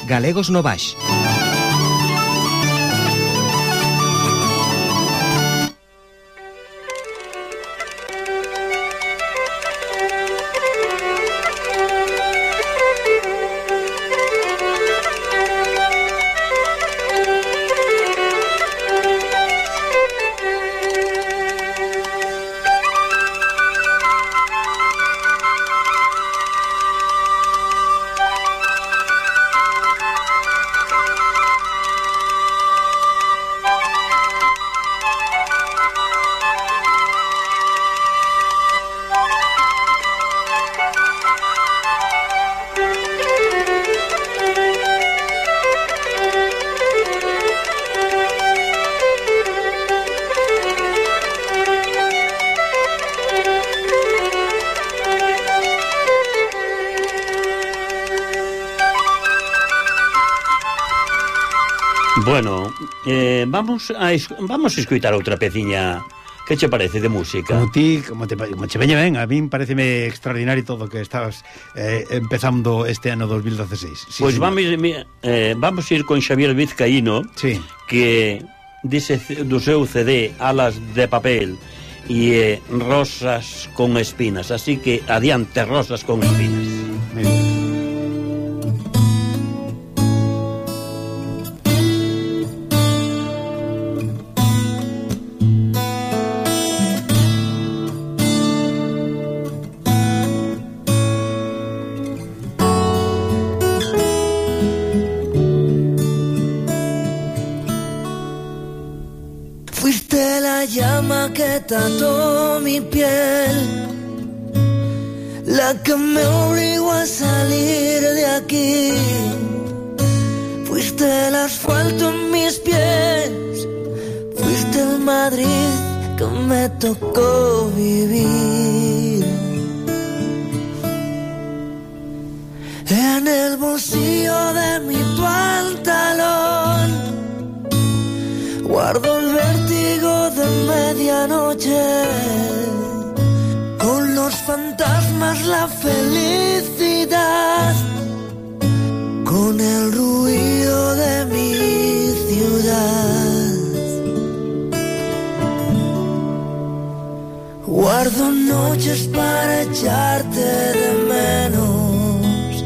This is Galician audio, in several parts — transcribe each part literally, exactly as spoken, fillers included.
Galegos no Baix. Bueno, eh, vamos a es, vamos a escoitar outra peciña. Que che parece de música? Como ti, como te, como che veña ben, a min pareceme extraordinario todo que estabas eh, empezando este ano dos mil dieciséis. Sí, pois vamos, eh, vamos a ir con Xavier Vizcaíno, sí, que dice do seu C D Alas de papel e eh, Rosas con espinas, así que adiante Rosas con espinas. Muy bien. Que trató mi piel, la que me obligó a salir de aquí. Fuiste el asfalto en mis pies, fuiste el Madrid que me tocó vivir. En el bolsillo de mi pantalón guardo el vértigo de medianoche, con los fantasmas la felicidad, con el ruido de mi ciudad. Guardo noches para echarte de menos,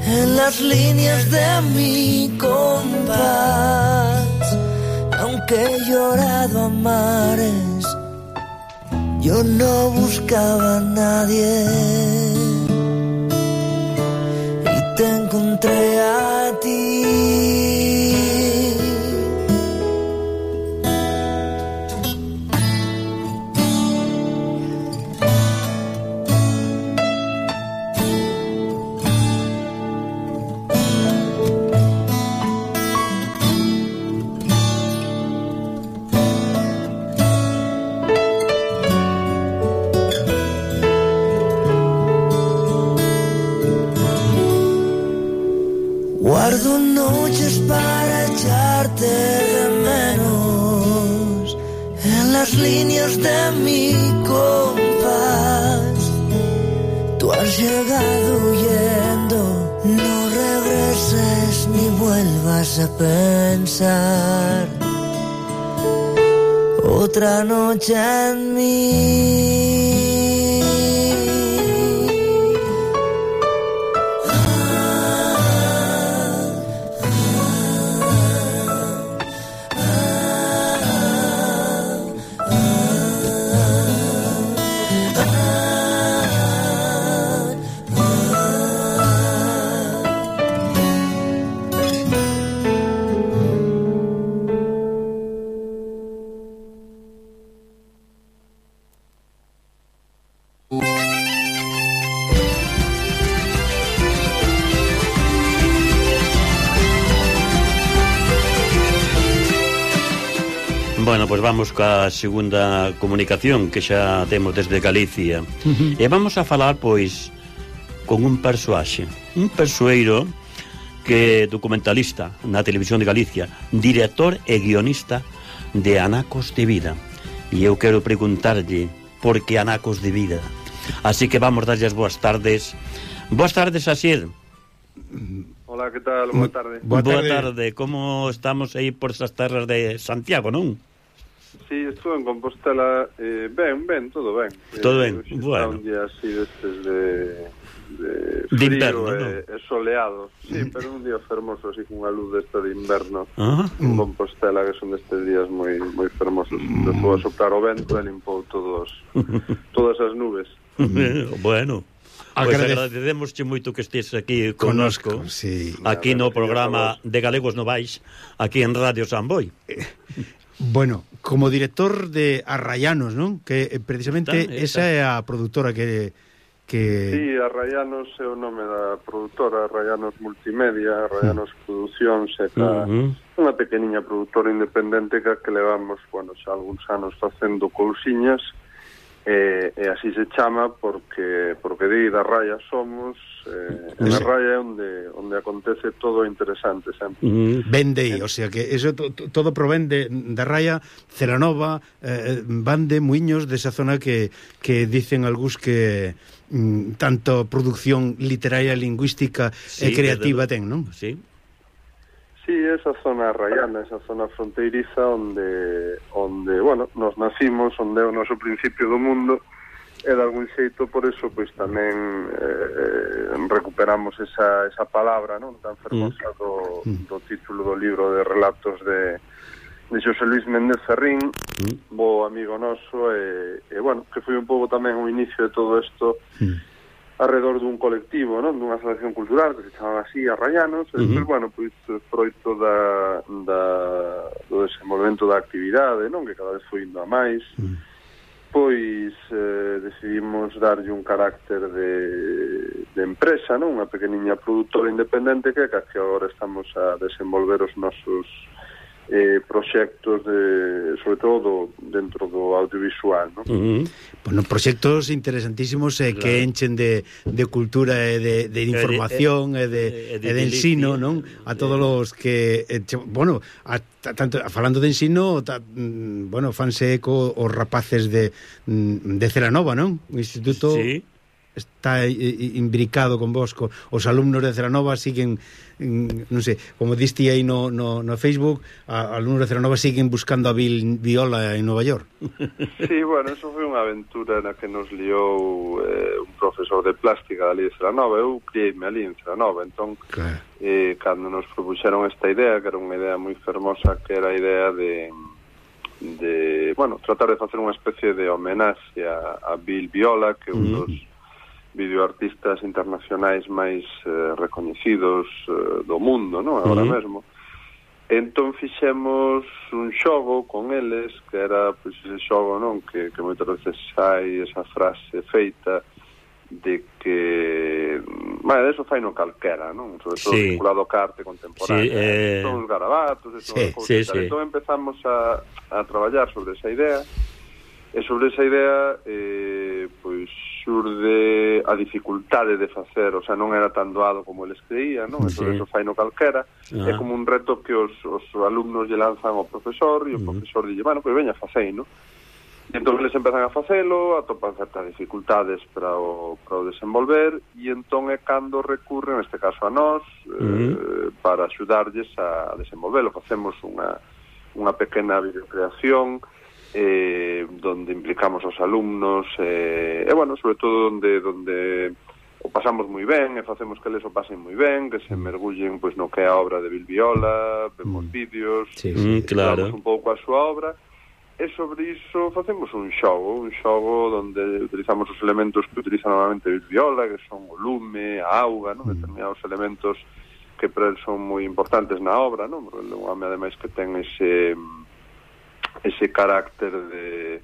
en las líneas de mi compás. Aunque he llorado a mares, yo no buscaba a nadie y te encontré a ti. Guardo noches para echarte de menos, en las líneas de mi compás. Tú has llegado huyendo, no regreses ni vuelvas a pensar otra noche en mí. Bueno, pois pues vamos ca segunda comunicación que xa temos desde Galicia. Uh-huh. E vamos a falar, pois, con un persoaxe, un persoeiro que é documentalista na Televisión de Galicia, director e guionista de Anacos de Vida. E eu quero preguntarlle por que Anacos de Vida. Así que vamos darlle as boas tardes. Boas tardes, Asier. Hola, que tal? Boa tarde. Boa tarde. Boa tarde. Como estamos aí por esas terras de Santiago, non? Sí, estuve en Compostela, eh, ben, ben, todo ben. Todo eh, ben, bueno. Un día así destes de, de frío de inverno, e, ¿no? e soleado. Sí, mm. pero un día fermoso, así con unha luz desta de inverno. Ah. En Compostela, que son destes días moi moi fermosos. Mm. Despois a soplar o vento e limpou todos, todas as nubes. Bueno. Pois pues agradecemosche moito que estés aquí connosco, connosco sí. Aquí no programa de Galegos Novais, aquí en Radio Samboy. Bueno, como director de Arrayanos, non? Que precisamente está, esa é a produtora que... que... Sí, Arrayanos é o nome da produtora, Arrayanos Multimedia, Arrayanos mm. Producións, é uh -huh. unha pequeniña produtora independente que, que levamos, bueno, xa algúns anos facendo cousiñas, e, e así se chama porque porque de da Raya somos, eh, en a Raya é onde, onde acontece todo interesante sempre. Mm, vende aí, o sea que eso to, to, todo provende da Raya, Celanova, eh, Bande, Muiños, desa zona que, que dicen algús que mm, tanto producción literaria, lingüística sí, e creativa ten, non? Sí. Sí, esa zona rayana, esa zona fronteiriza onde, onde, bueno, nos nacimos, onde é o noso principio do mundo, e de algún xeito por eso pois tamén eh, recuperamos esa, esa palabra, non, tan fermosa do, do título do libro de relatos de, de Xosé Luis Méndez Ferrín, mm. bo amigo noso, e, e bueno, que foi un pouco tamén o inicio de todo isto, mm. alrededor dun colectivo, non? Dunha asociación cultural que se chamaba así, Arrayanos, e, uh -huh. pues, bueno, pois froito da, da, do desenvolvemento da actividade, non? Que cada vez foi indo a máis, uh -huh. pois eh, decidimos darlle un carácter de, de empresa, non? Unha pequeniña produtora independente que, que agora estamos a desenvolver os nosos eh, proxectos de, sobre todo dentro do audiovisual, non? Uh -huh. Bueno, proxectos interesantísimos eh, claro. que enchen de, de cultura e de, de información e de, e de, de, de ensino, non? A todos os que eh, bueno, a, tanto falando de ensino, ta, bueno, fanse eco os rapaces de de Celanova, non? O instituto sí. está imbricado con vos, co, os alumnos de Celanova siguen, non sei, como diste aí no, no, no Facebook, a, alumnos de Celanova siguen buscando a Bill Viola en Nova York. Sí, bueno, eso foi unha aventura na que nos liou eh, un profesor de plástica ali de Celanova. Eu criei-me ali en Celanova, entón claro. eh, cando nos propuxeron esta idea, que era unha idea moi fermosa, que era a idea de de, bueno, tratar de facer unha especie de homenaxe a, a Bill Viola, que é un dos mm. videoartistas internacionais máis eh, recoñecidos eh, do mundo, non? Agora uh -huh. mesmo. Entón fixemos un xogo con eles, que era pois, ese xogo, non? Que, que moitas veces hai esa frase feita de que bueno, eso fai no calquera, non? Sobre todo sí. vinculado a arte contemporánea. Sí, eh... Son os garabatos, eso sí, sí, sí. Entón empezamos a, a traballar sobre esa idea, e sobre esa idea eh, pois xurde a dificultade de facer, o sea, non era tan doado como eles creían, non? Sí. Eso fai no calquera, ah. é como un reto que os, os alumnos lle lanzan ao profesor, e o uh -huh. profesor dille, bueno, pois veña, facei, non? E entón eles empezan a facelo, atopan certas dificultades para o, para o desenvolver, e entón é cando recurren, neste caso a nós, uh -huh. eh, para axudarlles a desenvolvelo. Facemos unha, unha pequena videocreación, Eh, donde implicamos aos alumnos eh, e, bueno, sobre todo donde donde o pasamos moi ben e facemos que eles o pasen moi ben, que se mergullen pois no que é a obra de Bill Viola, vemos mm. vídeos, sí, sí, claro. un pouco a súa obra, e sobre iso facemos un xogo, un xogo donde utilizamos os elementos que utiliza normalmente Bill Viola, que son o lume, a auga, non? Mm. Determinados elementos que para el son moi importantes na obra, non? Porque un home ademais que ten ese ese carácter de...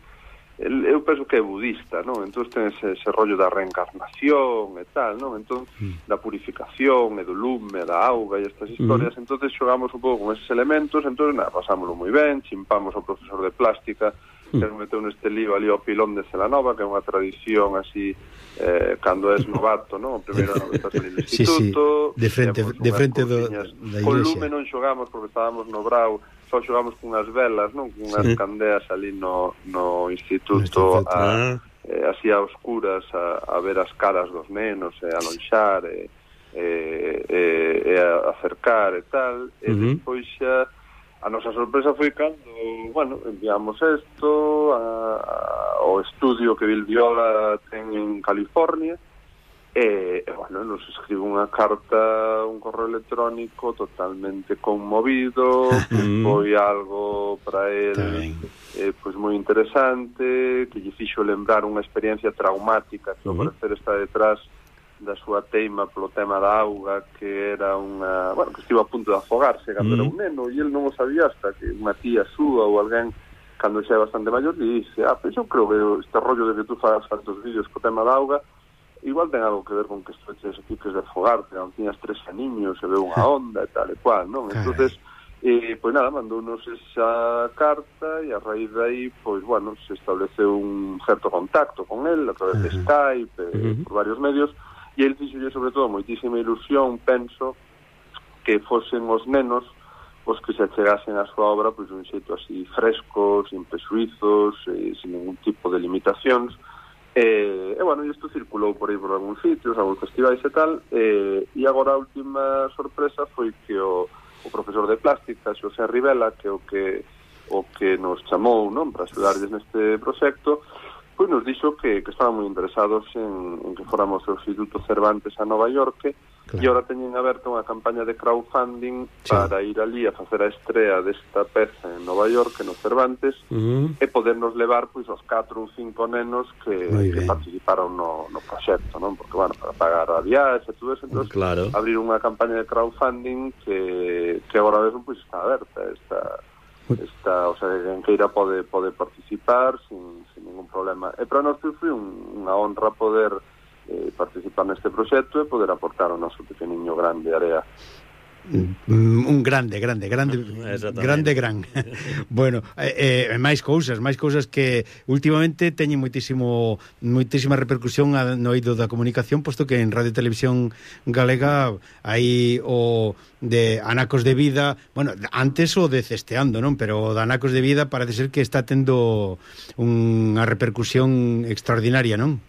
eu penso que é budista, non? Entón ten ese, ese rollo da reencarnación e tal, non? Entón, mm. da purificación e do lume, da auga e estas historias, mm. entón xogamos un pouco con eses elementos, entón, nada, pasámoslo moi ben, chimpamos ao profesor de plástica, mm. que nos meteu neste lío ali ao pilón de Celanova, que é unha tradición así, eh, cando és novato, non? O primeiro ano que estás ali no instituto, sí, sí. de frente, de frente do, da iglesia. Con lume non xogamos porque estábamos no Brau, só xogamos con unhas velas, non? Con unhas sí. candeas ali no, no instituto, a, eh, así a oscuras, a, a ver as caras dos nenos, e a lonxar, e, e, e, e acercar e tal, e uh-huh. despois xa a nosa sorpresa foi cando, bueno, enviamos isto ao estudio que Bill Viola ten en California, e, e bueno, nos escribe unha carta, un correo electrónico totalmente conmovido, que foi algo para él eh, pois moi interesante, que lle fixo lembrar unha experiencia traumática que ao parecer está detrás da súa teima polo tema da auga, que era unha, bueno, que estivo a punto de afogarse cando mm. era un neno, e el non o sabía hasta que unha tía súa ou alguén, cando xa é bastante maior, e dice, ah, pois eu creo que este rollo de que tú fagas tantos vídeos co tema da auga igual ten algo que ver con que estreches e piques de afogarte, non tiñas tres aniños e ve unha onda e tal e cual, non? Entonces, eh, pois nada, mandounos esa carta e a raíz de aí, pois, bueno, se estableceu un certo contacto con él a través de Skype, eh, por varios medios. E ele fixolle sobre todo moitísima ilusión, penso, que fosen os nenos os que se achegasen a súa obra pois un xeito así fresco, sin presuizos, eh, sin ningún tipo de limitacións. E, e bueno, isto circulou por aí por algúns sitios, algúns festivais e tal, e, e agora a última sorpresa foi que o, o profesor de plástica, Xosé Rivela, que o que o que nos chamou, non, para axudarlles neste proxecto, pois nos dixo que, que estaban moi interesados en, en que fóramos ao Instituto Cervantes a Nova York, claro. E agora teñen aberta unha campaña de crowdfunding sí. para ir ali a facer a estrea desta peza en Nova York, no Cervantes, uh-huh. e podernos levar pois os catro ou cinco nenos que, que participaron no, no proxecto, non? Porque, bueno, para pagar a viaxe e todo eso, entón, claro. abrir unha campaña de crowdfunding que, que agora mesmo pois está aberta, está... Está, o sea, quen queira pode, pode participar sin, sin ningún problema. E para nós foi un, unha honra poder eh, participar neste proxecto e poder aportar o noso pequeniño grande área. Un grande, grande, grande, grande, gran. Bueno, eh, eh, máis cousas, máis cousas que últimamente teñen moitísimo moitísima repercusión no eido da comunicación, posto que en Radio e Televisión Galega hai o de Anacos de Vida, bueno, antes o de Cesteando, non? Pero o de Anacos de Vida parece ser que está tendo unha repercusión extraordinaria, non?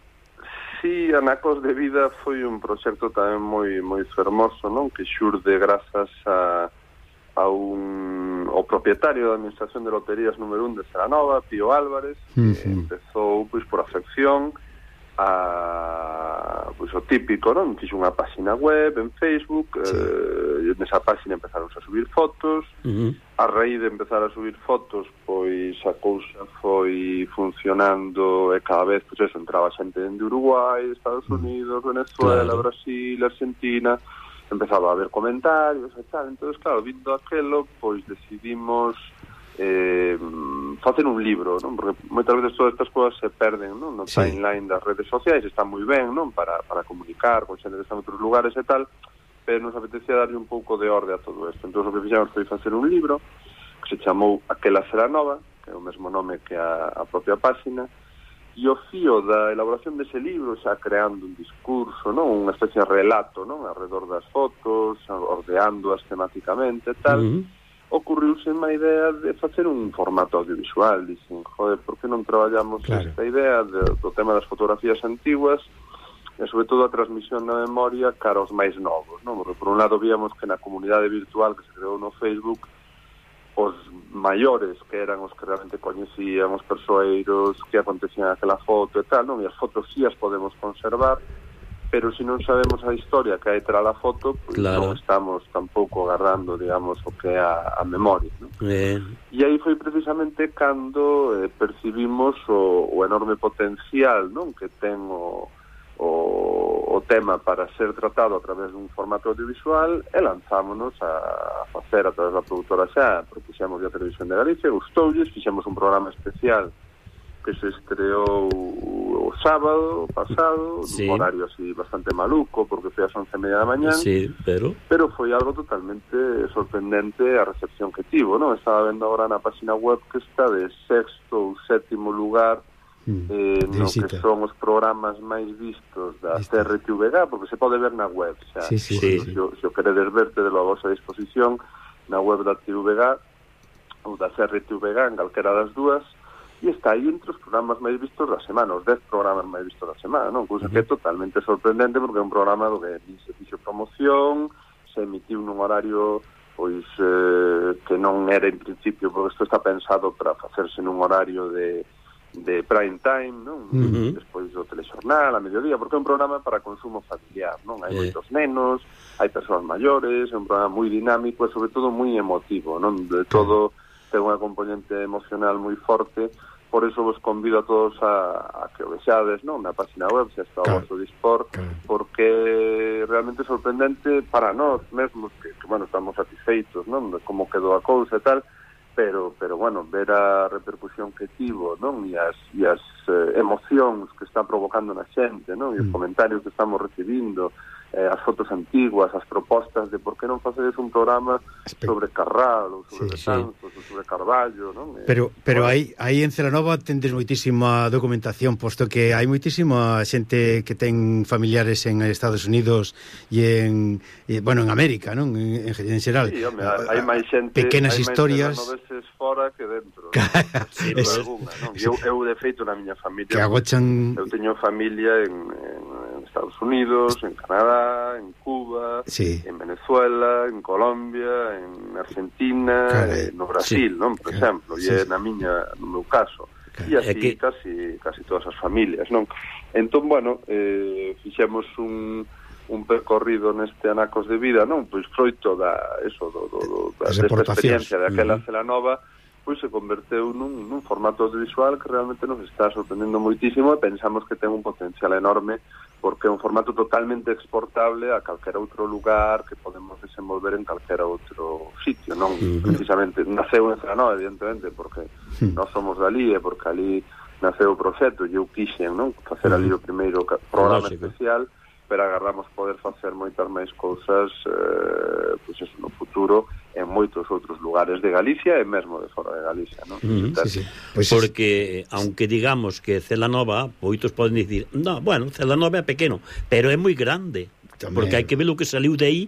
Sí, Anacos de Vida foi un proxecto tamén moi moi fermoso, non? Que xurde grazas a, a un o propietario da Administración de Loterías número un de Celanova, Pío Álvarez, uh-huh. que empezou pois por afección a pois o típico, non? Fixo unha página web en Facebook, sí. eh, nesa página empezaron a subir fotos, uh-huh. a raíz de empezar a subir fotos, pois a cousa foi funcionando e cada vez, pois eso, entraba xente de Uruguai, Estados Unidos, Venezuela, claro. Brasil, Argentina, empezaba a haber comentarios e tal, entonces, claro, vindo aquelo, pois decidimos eh, facer un libro, non? Porque moitas veces todas estas cousas se perden, non? No sí. timeline das redes sociais, está moi ben, non? Para, para comunicar con xente que está en outros lugares e tal, pero nos apetecía darlle un pouco de orde a todo isto. Entón, o que fixemos foi facer un libro que se chamou Aquela será nova, que é o mesmo nome que a, a propia páxina, e o fío da elaboración dese libro, xa creando un discurso, non? Unha especie de relato, non? Alrededor das fotos, ordeándoas temáticamente e tal, uh-huh. ocurriuse unha idea de facer un formato audiovisual. Dicen, joder, por que non traballamos claro. esta idea de, do tema das fotografías antiguas e sobre todo a transmisión na memoria cara aos máis novos, non? Porque por un lado víamos que na comunidade virtual que se creou no Facebook os maiores, que eran os que realmente coñecían os persoeiros, que acontecían aquela foto e tal, non? E as fotos sí as podemos conservar, pero se non sabemos a historia que hai tras a foto, pois claro. non estamos tampouco agarrando, digamos, o que é a, a memoria, non? Eh. E aí foi precisamente cando eh, percibimos o, o enorme potencial, non? Que ten o, o, o tema para ser tratado a través dun formato audiovisual e lanzámonos a, a facer a través da produtora xa, propuxemos a Televisión de Galicia, gustoulles, fixemos un programa especial que se estreou o sábado pasado, sí. un horario así bastante maluco, porque foi ás once e media da mañán, sí, pero... pero foi algo totalmente sorprendente a recepción que tivo, non? Estaba vendo agora na página web que está de sexto ou sétimo lugar mm, eh, no que son os programas máis vistos da C R T V G, porque se pode ver na web, xa. Sí, sí, sí. Se, se o queredes verte de la vosa disposición na web da T V G ou da C R T V G, en calquera das dúas. e está aí entre os programas máis vistos da semana, os dez programas máis vistos da semana, non? Cousa que é totalmente sorprendente, porque é un programa do que se fixo promoción, se emitiu nun horario pois eh, que non era en principio, porque isto está pensado para facerse nun horario de, de prime time, non? Uh-huh. Despois do telexornal, a mediodía, porque é un programa para consumo familiar, non? Hai eh. moitos nenos, hai persoas maiores, é un programa moi dinámico e sobre todo moi emotivo, non? De todo ten unha componente emocional moi forte. Por eso vos convido a todos a, a que o vexades, non? Na página web, se está claro. O vosso dispor, claro. Porque realmente é sorprendente para nós mesmos, que, que bueno, estamos satisfeitos, non? De como quedou a cousa e tal, pero, pero bueno, ver a repercusión que tivo, non? E as, e as eh, emocións que está provocando na xente, non? E os mm. comentarios que estamos recibindo, eh, as fotos antiguas, as propostas de por que non facedes un programa sobre Carral ou sobre sí, Betanzos sí. ou sobre Carballo, non? Pero pero aí aí en Celanova tendes moitísima documentación, posto que hai moitísima xente que ten familiares en Estados Unidos e en e, bueno, en América, non? En, en xeral. Sí, home, hai máis xente, pequenas hai historias máis veces fora que dentro. Sí, es... alguna, non? Eu, eu de feito na miña familia, que agochan... eu teño familia en, en Estados Unidos, en Canadá, en Cuba, sí. En Venezuela, en Colombia, en Argentina, Caray. No Brasil, sí. Non? Por exemplo, sí. E na miña, no meu caso. E así que... casi, casi todas as familias, non? Entón, bueno, eh, fixemos un, un percorrido neste Anacos de Vida, non? Pois froito da, eso, do, do, do, da, desta experiencia daquela uh-huh. Celanova, pois se converteu nun, nun formato audiovisual que realmente nos está sorprendendo moitísimo e pensamos que ten un potencial enorme, porque é un formato totalmente exportable a calquera outro lugar que podemos desenvolver en calquera outro sitio, non? Uh-huh. Precisamente, naceu en Celanova, evidentemente, porque uh-huh. nós somos dali e porque ali naceu o proxecto e eu quixen, non? Facer uh-huh. ali o primeiro programa Lógico. Especial, pero agarramos poder facer moitas máis cousas eh, pois eso, no futuro en moitos outros lugares de Galicia e mesmo de fora de Galicia, non? Mm, sí, sí. Pues porque, es... aunque digamos que Celanova, moitos poden dicir, no, bueno, Celanova é pequeno, pero é moi grande, tamén. Porque hai que ver o que saliu de aí.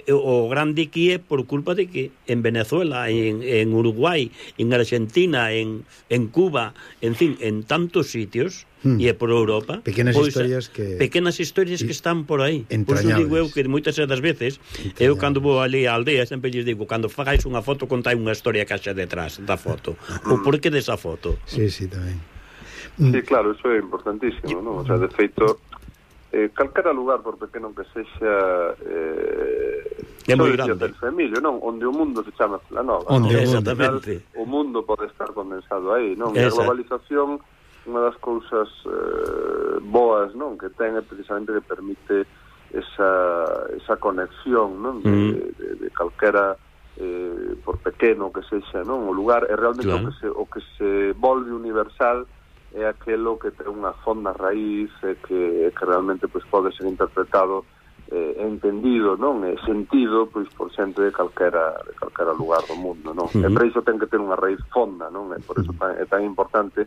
O grande que é por culpa de que en Venezuela, en, en Uruguai, en Argentina, en, en Cuba, en fin, en tantos sitios hmm. e por Europa, pequenas pois, historias que pequenas historias que están por aí. Por iso digo eu que moitas das veces eu cando vou ali á aldea sempre lles digo, cando fagáis unha foto contai unha historia que haxa detrás da foto, o porqué desa foto. Sí, sí, tamén. Sí, claro, eso é importantísimo, non? O sea, de feito Eh, calquera lugar, por pequeno que sexa, eh, é moi grande del Femilio, non? Onde o mundo se chama Celanova, onde non? Exactamente. Final, o mundo pode estar condensado aí, non? E a globalización, unha das cousas eh, boas, non? Que ten é precisamente que permite esa, esa conexión, non? De, mm. de, de calquera eh, por pequeno que sexa, non? O lugar é realmente claro. o, que se, o que se volve universal é aquelo que ten unha fonda raíz e que, que realmente pois, pode ser interpretado e eh, entendido, non? E sentido pois, por xente de calquera, de calquera lugar do mundo, non? Uh-huh. E por iso ten que ter unha raíz fonda, non? E por iso tan, é tan importante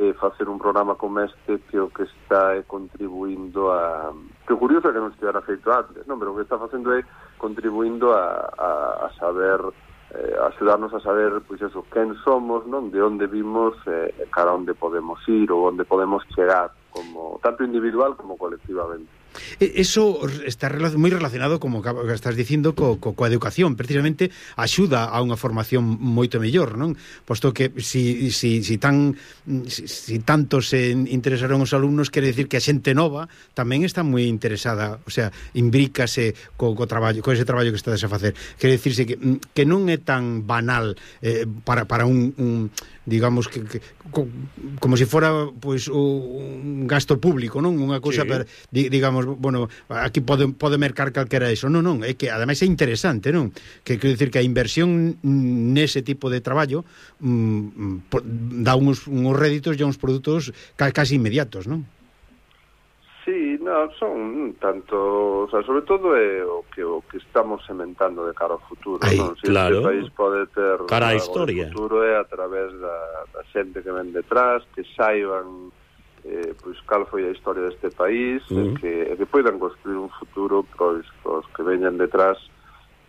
eh, facer un programa como este que o que está é contribuindo a... Que o curioso é que non estivera feito antes, non? Pero o que está facendo é contribuindo a, a, a saber... Eh, axudarnos a saber pois eso, quen somos, non, de onde vimos e eh, cara onde podemos ir ou onde podemos chegar, como tanto individual como colectivamente. Eso está moi relacionado, como estás dicindo, co, co, coa educación. Precisamente axuda a unha formación moito mellor, non? Posto que si, si, si, tan, si, si tanto se interesaron os alumnos, quere decir que a xente nova tamén está moi interesada, o sea, imbrícase co, co traballo, co ese traballo que estades a facer. Quere dicirse que, que non é tan banal eh, para, para un, un digamos que, que co, como se si fora pois pues, un gasto público, non? Unha cousa sí. per, digamos, bueno, aquí pode, pode mercar calquera iso. Non, non, é que ademais é interesante, non? Que quero dicir que a inversión nese tipo de traballo mm, dá uns, uns réditos e uns produtos casi inmediatos, non? Sí, no, son tanto, o sea, sobre todo é o que o que estamos sementando de cara ao futuro, Ay, non? Si claro. este país pode ter cara a historia. O futuro é a través da, da xente que ven detrás, que saiban eh, pois cal foi a historia deste país, uh-huh. e que, e que poidan construir un futuro pois os que veñan detrás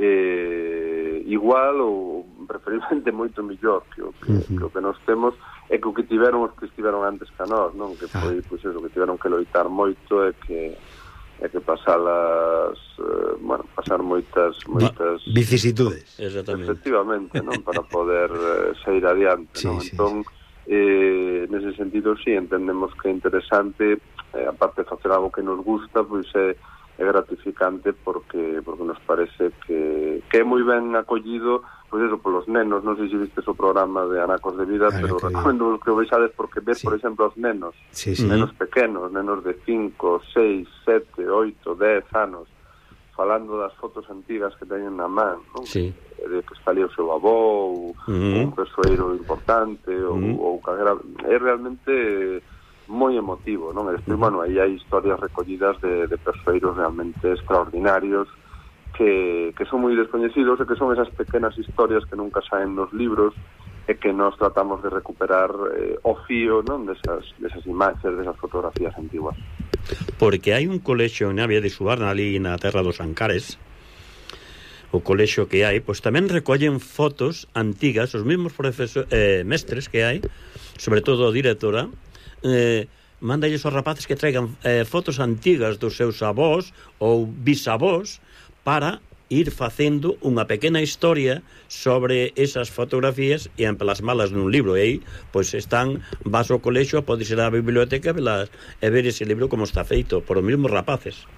eh, igual ou preferiblemente moito mellor que o que, uh-huh. que o que nos temos, e que o que tiveron os que estiveron antes que a nós, non? Que foi, pois eso, que tiveron que loitar moito e que e que pasalas, eh, bueno, pasar moitas moitas vicisitudes. Exactamente. Efectivamente, non? Para poder eh, sair adiante, sí, non? Sí, entón, sí. Eh, nese sentido, sí, entendemos que é interesante, eh, aparte de facer algo que nos gusta, pois é, é gratificante porque porque nos parece que, que é moi ben acollido, pois eso, polos nenos. Non sei se vistes o programa de Anacos de Vida, ah, pero recomendo que o vexades porque ves, sí. por exemplo, os nenos, sí, sí. nenos pequenos, nenos de cinco, seis, sete, oito, dez anos, falando das fotos antigas que teñen na man, non? Sí. De que está ali o seu avó, ou, uh-huh. ou un persoeiro importante, ou, uh-huh. ou calera. É realmente moi emotivo, non? E despois, uh-huh. bueno, aí hai historias recollidas de, de persoeiros realmente extraordinarios que, que son moi descoñecidos e que son esas pequenas historias que nunca saen nos libros e que nós tratamos de recuperar eh, o fío, non? Desas, desas imaxes, desas fotografías antiguas. Porque hai un colexio en Navia de Subarna, ali na terra dos Ancares, o colexio que hai, pois tamén recollen fotos antigas, os mesmos profesores, eh, mestres que hai, sobre todo a directora, eh, mándalles aos rapaces que traigan eh, fotos antigas dos seus avós ou bisavós para ir facendo unha pequena historia sobre esas fotografías e emplasmalas nun libro. E aí, pois están, vas ao colexio, podes ir á biblioteca velas, e ver ese libro como está feito por os mesmos rapaces.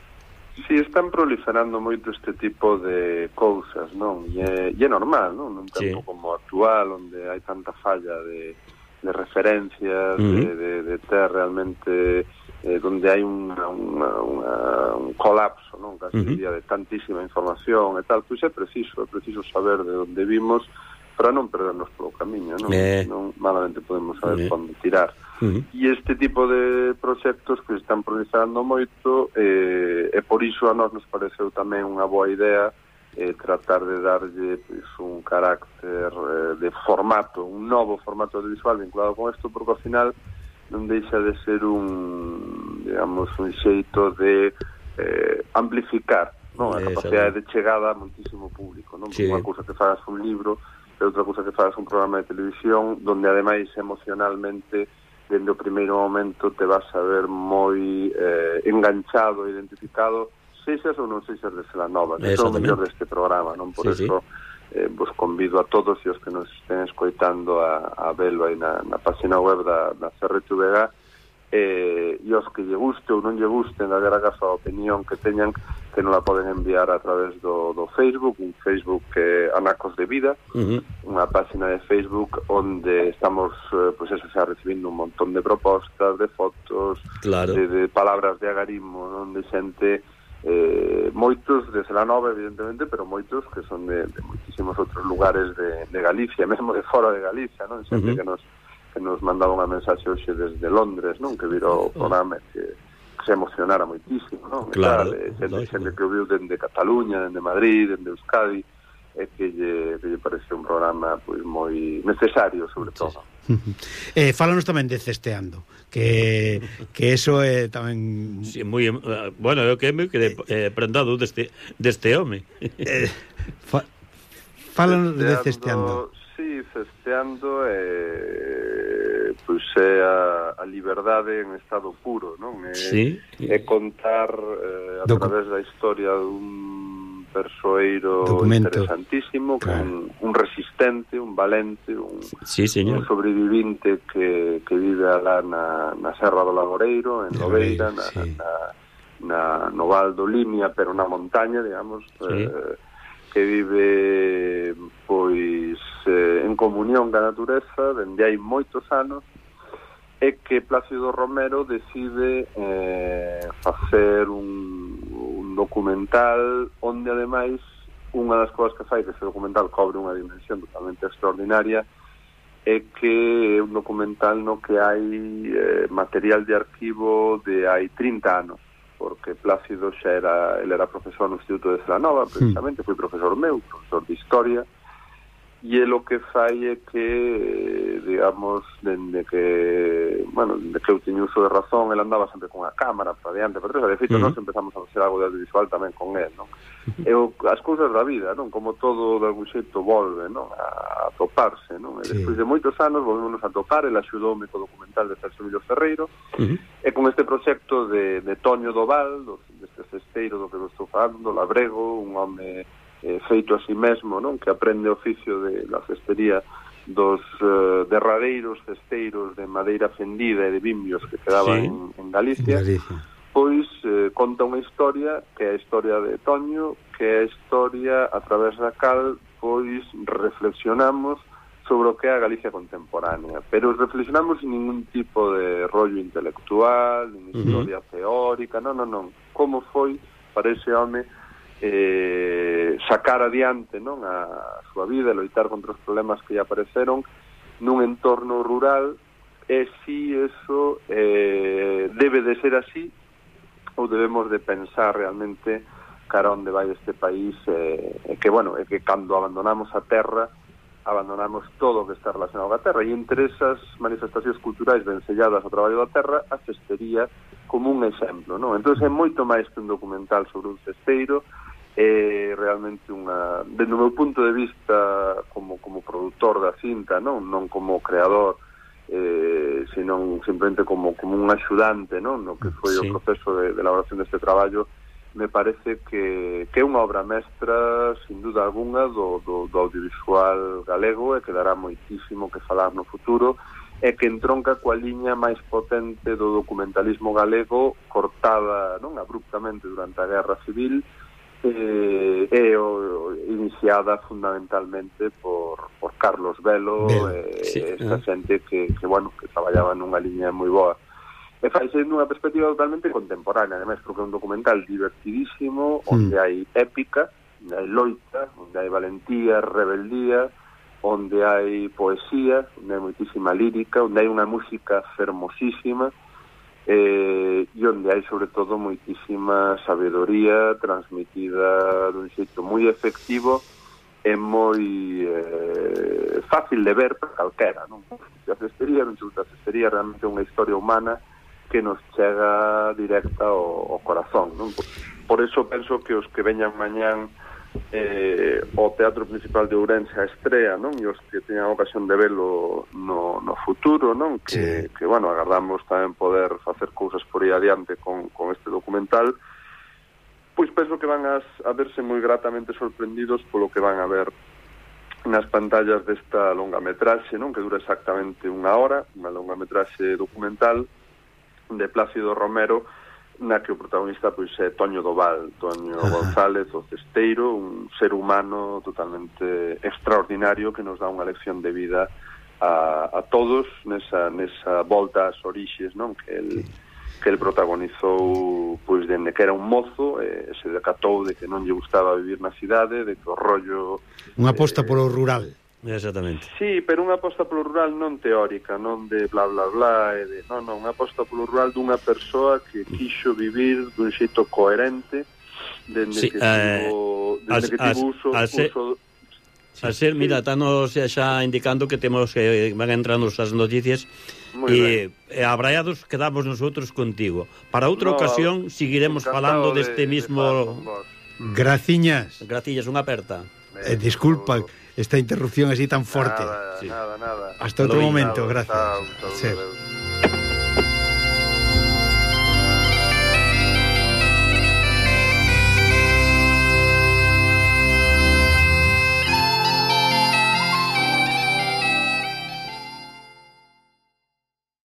Si, sí, están proliferando moito este tipo de cousas, non? E é, e é normal, non? Nun tempo sí. como actual, onde hai tanta falla de, de referencias, uh-huh. de, de, de ter realmente eh, donde hai unha, unha, unha, un colapso, non? Casi uh-huh. diría, de tantísima información e tal, pois é preciso, é preciso saber de onde vimos para non perdernos polo camiño, non? Eh. Non malamente podemos saber eh. onde tirar. Uh-huh. E este tipo de proxectos que están proliferando moito, eh, e por iso a nós nos pareceu tamén unha boa idea eh, tratar de darlle pues, un carácter eh, de formato, un novo formato audiovisual vinculado con isto, porque ao final non deixa de ser un, digamos, un xeito de eh, amplificar, non? A capacidade de chegada a moitísimo público, non? Sí. Unha cousa que fagas un libro e outra cousa que fagas un programa de televisión donde ademais emocionalmente dende o primeiro momento te vas a ver moi eh, enganchado, identificado, sexas ou non sexas de Celanova, que son o mellor deste programa, non? Por sí, eso sí. eh, vos convido a todos e os que nos estén escoitando a, a velo aí na, na página web da, da C R T V G, eh, e os que lle guste ou non lle guste, na vera caso a opinión que teñan, que non la poden enviar a través do, do Facebook, un Facebook que é Anacos de Vida, uh-huh. unha página de Facebook onde estamos, eh, pues eso, xa recibindo un montón de propostas, de fotos, claro. de, de palabras de agarimo, non? De xente, eh, moitos de Celanova, evidentemente, pero moitos que son de, de moitísimos outros lugares de, de Galicia, mesmo de fora de Galicia, non? Xente uh-huh. que nos que nos mandaba unha mensaxe hoxe desde Londres, non? Que virou o programa que se emocionara moitísimo, non? Claro, e tal, xente, xente que o viu dende Cataluña, dende Madrid, dende Euskadi, e que lle, que lle parece un programa pois moi necesario, sobre todo. eh, fálanos tamén de Cesteando, que que eso é tamén sí, moi, uh, bueno, eu que me quedé eh, prendado deste deste home. eh, fa, fálanos de Cesteando. Sí, Cesteando é pois é a, a liberdade en estado puro, non? É, sí. é contar eh, a Docu- través da historia dun persoeiro Documento. Interesantísimo, claro. un, un resistente, un valente, un, sí, un sobrevivinte que, que vive alá na, na Serra do Laboreiro, en Lobeira, na, sí. na, na, no Val do Limia, pero na montaña, digamos, sí. eh, que vive pois eh, en comunión ca natureza dende hai moitos anos, e que Plácido Romero decide eh, facer un, un documental onde ademais unha das cousas que fai que ese documental cobre unha dimensión totalmente extraordinaria é que é un documental no que hai eh, material de arquivo de hai trinta anos, porque Plácido xa era, ele era profesor no Instituto de Celanova, precisamente, foi profesor meu, profesor de Historia, e é lo que fai é que, digamos, dende que, bueno, dende que eu teño uso de razón, ele andaba sempre con a cámara para diante, para atrás, de feito, uh -huh. nós empezamos a facer algo de audiovisual tamén con ele, non? E o, as cousas da vida, non? Como todo, de algún xeito, volve, non? A, a toparse, non? E sí. Despois de moitos anos, volvemos a topar, ele axudoume co documental de Celso Emilio Ferreiro, uh -huh. e con este proxecto de, de Toño Doval, do, deste cesteiro do que eu estou falando, do Labrego, un home Eh, feito a si mesmo, non? Que aprende o oficio de la cestería dos eh, derradeiros cesteiros de madeira fendida e de bimbios que quedaban sí. en, en Galicia, Galicia. Pois eh, conta unha historia que é a historia de Toño, que é a historia a través da cal pois reflexionamos sobre o que é a Galicia contemporánea, pero reflexionamos sin ningún tipo de rollo intelectual, nin historia uh -huh. teórica, non, non, non, como foi para ese home Eh, sacar adiante, non, a súa vida e loitar contra os problemas que lle apareceron nun entorno rural, e si eso eh, debe de ser así ou debemos de pensar realmente cara onde vai este país, eh, e que, bueno, é que cando abandonamos a terra abandonamos todo o que está relacionado a terra, e entre esas manifestacións culturais vencelladas ao traballo da terra, a cestería como un exemplo, non? Entón é moito máis que un documental sobre un cesteiro, é realmente unha, dentro do meu punto de vista como, como produtor da cinta, non, non como creador, eh, senón simplemente como, como un axudante, non, no que foi sí. o proceso de, de elaboración deste traballo, me parece que, que é unha obra mestra sin duda alguna do, do, do audiovisual galego, e que dará moitísimo que falar no futuro, e que entronca coa liña máis potente do documentalismo galego, cortada, non, abruptamente durante a Guerra Civil, eh, e o, iniciada fundamentalmente por, por Carlos Velo, e sí, esta eh. xente que, que, bueno, que traballaba nunha liña moi boa. E faise nunha perspectiva totalmente contemporánea, ademais, porque é un documental divertidísimo, onde mm. hai épica, onde hai loita, onde hai valentía, rebeldía, onde hai poesía, onde hai moitísima lírica, onde hai unha música fermosísima, eh, e onde hai sobre todo moitísima sabedoría transmitida dun xeito moi efectivo e moi eh, fácil de ver para calquera, non? A cestería, non a cestería realmente é unha historia humana que nos chega directa ao, ao corazón, non? Por, por eso penso que os que veñan mañán eh, o Teatro Principal de Ourense a estrea, non? E os que teñan ocasión de velo no, no futuro, non? Que, sí. que, bueno, agardamos tamén poder facer cousas por aí adiante con, con este documental, pois penso que van as, a verse moi gratamente sorprendidos polo que van a ver nas pantallas desta longametraxe, non? Que dura exactamente unha hora, unha longametraxe documental de Plácido Romero, na que o protagonista pois é Toño Doval, Toño Ajá. González, o cesteiro, un ser humano totalmente extraordinario que nos dá unha lección de vida a, a todos nesa, nesa volta ás orixes, non? Que el, sí. que el protagonizou pois dende que era un mozo, e se decatou de que non lle gustaba vivir na cidade, de que o rollo unha aposta eh, polo rural. Exactamente. Sí, pero unha aposta polo rural non teórica, non de bla bla bla, e de, non, non, unha aposta polo rural dunha persoa que quixo vivir dun xeito coherente dende sí, que eh, tivo, dende as, que tivo uso, as, uso sí, al ser, sí. Mira, estamos xa indicando que temos que van entrando as noticias e, e abraiados quedamos nosotros contigo. Para outra no, ocasión seguiremos falando deste de, mismo de Graciñas. Graciñas, unha aperta. Eh, disculpa esta interrupción así tan forte. Nada, sí. nada, nada. Hasta outro momento, gracias. Chao, chao, sí.